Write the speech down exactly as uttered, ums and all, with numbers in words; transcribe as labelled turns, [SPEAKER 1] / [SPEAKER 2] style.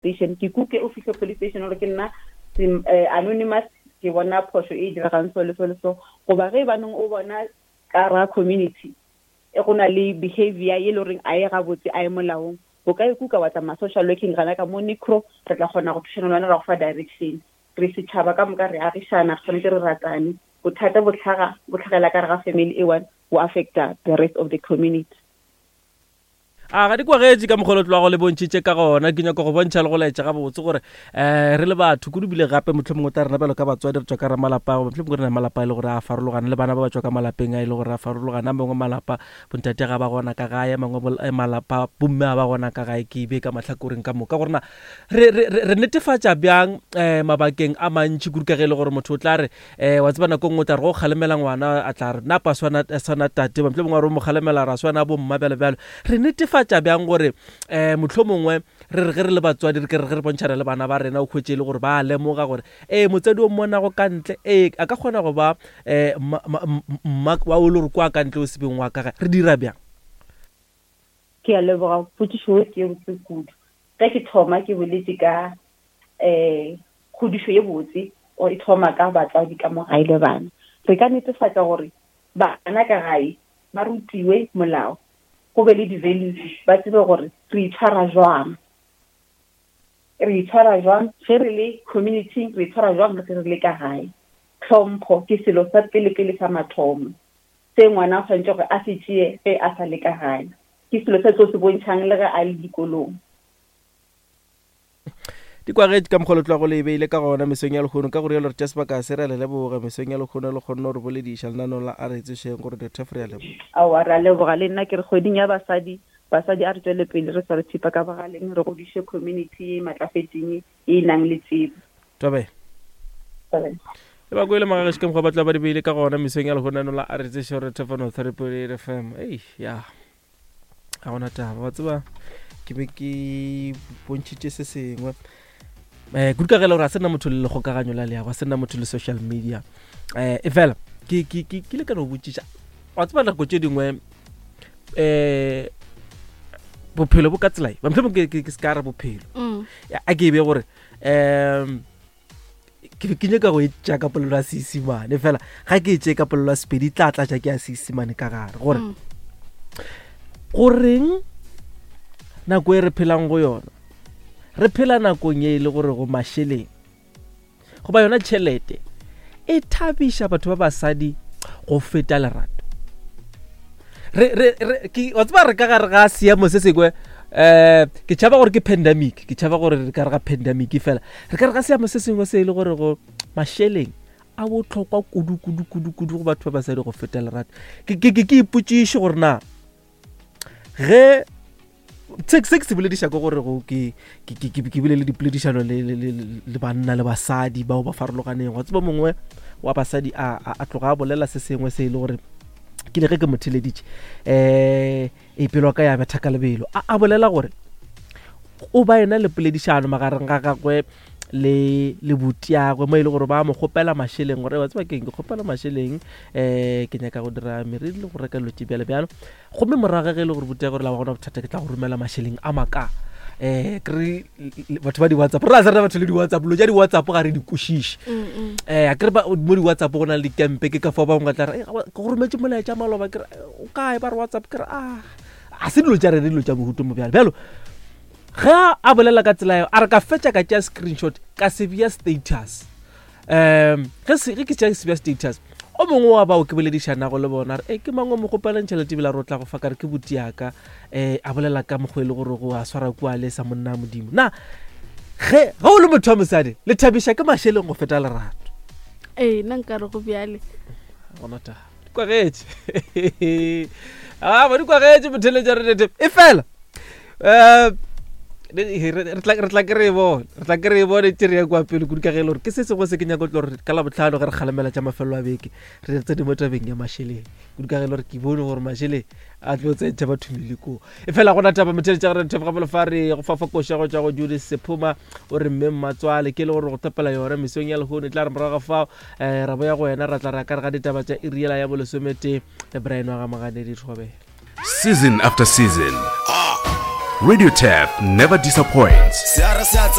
[SPEAKER 1] Station, ke kuke o fihle police station gore ke nna eh, anonymous, ke bona phošo e diregang so le so le so. Goba ge banong o bona ka ra community e go na le behavior ye le goreng a ye gabotse, a ye molaong, o ka ikuka wa tsamaya social working gana ka mo Nicro, re tla kgona go thušana le wena, ra go fa direction. Re setšhaba ka moka, re agišana, re tshwanetse re ratane. Bothata bo tlhaga bo tlhagela ka re ga family e one, bo affecta the rest of the community.
[SPEAKER 2] A ga di kwagetše ka mokgwa tloago le bontšhitše ka gona. Ke nyaka go bontšha le go laetša gabotse gore um re le batho kudu bile gape mohlomongwe tla rena bjalo ka batswadi re tswa ka ra malapa, mohlomongwe re na malapa e le gore a farologana, le bana ba ba tswa ka malapeng a e le gore a farologana. A mangwe malapa bontate ga ba gona ka gae, a mangwe malapa bomme ga ba gona ka gae. Ke be ka mahlakoreng ka moka gore na re, re, re netefatša bjang um mabakeng a mantši kudu, ka ge e le gore motho o tla re um wa tseba nako nngwe o tla re go kgalemela ngwana a tla re napa swana swana tate, mohlomongwe a re o mo kgalemela ra swana bomma, bjalo bjalo. Re netefatša bjang gore um mohlomongwe re re ge re le batswadi re ke re ge re bontšhana le bana ba rena, o hwetše e le gore ba lemoga gore ee motswadi o mmonago ka ntle ee a ka kgona go ba um mma wa o le gore kwa ka ntle o sebeng wa ka gae? Re dira bjang?
[SPEAKER 1] Ke a leboga, potšišo ke botse kudu. Ge ke thoma ke boletše ka um kgodišo ye botse o e thoma ka batswadi ka mo gae le bana. Re ka netefatša gore bana ka gae ba rutiwe molao, go be le di-values, ba tsebe gore re itshwara jwang, re itshwara jwang ge re le community, re itshwara jwang ge re le ka gae. Tlhompho ke selo sa pele-pele sa mathomo se ngwana o tshwanetse gore a se tšee ge a sa le ka gae, ke selo se tlo se bontšhang le ge a le dikolong.
[SPEAKER 2] Di kwagetše ka mokgwa tloago le e beile ka gona mesong ya lekgono. Ka gore yalo re tša sebaka se, re a le leboga mesong ya lekgono le kgonne gore bolediša lenaneong la A Re Tsošeng gore dithef. Re a leboga.
[SPEAKER 1] Aowa, re a leboga le nna. Ke re kgweding ya basadi, basadi a re tswele pele re sware thipa ka bogaleng, re godiše community ye matlafetseng, ye e nang le tsebo.
[SPEAKER 2] Tabe le ba kwele magageši ka mokgwa ba tla ba di beile ka gona mesong ya lekgono la A Re Tsošeng gore thefano three point eight F M. Ei ya, ga gona taba, wa tseba ke be ke bontšhitše se sengwe um kudu ka ge le gore a se nna motho le lekgokaganyo la leago, a se nna motho le social media um e fela ke ke ke ke ile ka no botšiša. Wa tseba nako tše dingwe um bophelo bo ka tsela e mohlomong ke ke se ka re bophelo
[SPEAKER 3] Mm.
[SPEAKER 2] a ke e be gore um ke be ke nyaka go e tšea ka polelo ya Seesimane, fela ga ke e tšee ka polelo ya Sepedi, tla tlatša ke ya Seesimane ka gare gore
[SPEAKER 3] Mm.
[SPEAKER 2] goreng nako e re phelang go yona, re phela nakong ye e le gore go mašeleng goba yona tšhelete e thabiša batho ba basadi go feta lerato. Re re re ke wa tseba re ka gare ga seemo se sengwe um ke tšhaba gore ke pandemic, ke tšhaba gore re ka re ga pandemic, fela re ka re ga seemo se sengwe se e le gore go mašeleng a botlhokwa kudu kudu kudu kudu go batho ba basadi go feta lerato. Ke ke ke ke ipotšiše gore na ge se se ke se bolediša ke gore go ke ke ke ke ke bile le dipoledišano le le le le banna le basadi bao ba farologaneng. Wa tseba mongwe wa basadi a a a tloga a bolela se sengwe se e le gore ke le ge ke mo theleditše um e pelo ka ya betha ka lebelo. a a bolela gore o ba ena le poledišano magareng ga gagwe le le butiagwe mo e le gore ba mo kgopela mašeleng, gore wa tseba keng, ke kgopela mašeleng um ke nyaka go dira meriri le go reka dilo tše bjalo bjalo. Gomme morago ge e le gore butiagwe gore la wa gona bothata, ke tla go romela mašeleng a maka um kere batho ba di-WhatsApp, re a se rena batho le di-WhatsApp, dilo tša di-WhatsApp ga re di kwešiše.
[SPEAKER 3] Mm, mm.
[SPEAKER 2] um a kere ba- mo di-WhatsApp go na le dikempe, ke ka fao bangwe ba tla re, "Eh, ke go rometse molaetša maloba." Ke re, "Eh, o kae?" Ba re WhatsApp. Ke re a a se dilo tša rena, dilo tša mohuto mo bjalo bjalo. Ge a bolela ka tsela eo, a re ka fetša ka tšea screenshot ka se bea status. um ge se- ge ke tšea se bea status, o mongwe wa bao ke boledišanago le bona re e ke mang o mo kgopelang tšhelete ebile a re o tla go fa? Kare ke botiaka. um a bolela ka mokgwa e le gore go a swara kua le sa monna wa Modimo. Na ge ge o le motho wa mosadi le thabiša ke mašeleng go feta lerato?
[SPEAKER 3] Ee, nna nkare go bjale.
[SPEAKER 2] Gona taba di kwagetše, a ba di kwagetše motheletša re tete e fela um re re tla re tla ke re e bone, re tla ke re e bone tse re ya kwa pele kudu, ka ge e le gore ke se sengwe se ke nyaka go tlo gore ka Labotlhano ge re kgalemela tša mafelelo a beke re tsene mo tabeng ya mašeleng kudu, ka ge e le gore ke bone gore mašeleng a tlo tsentšha batho melekong. E fela gona taba motheletša gore thef gabolo fa re go fafa koša go tšwa go Judith Sephuma, o re mme mmatswale ke le gore go thopela yona mesong ya lehono. E tla re morago ga fao um ra boya go wena, ra tla ra ka re ga ditaba tša iriela ya bolesometee le Brian wa ga Moganedi. Thobela.
[SPEAKER 4] Season after season, Radio Turf never disappoints.
[SPEAKER 5] Se a re se a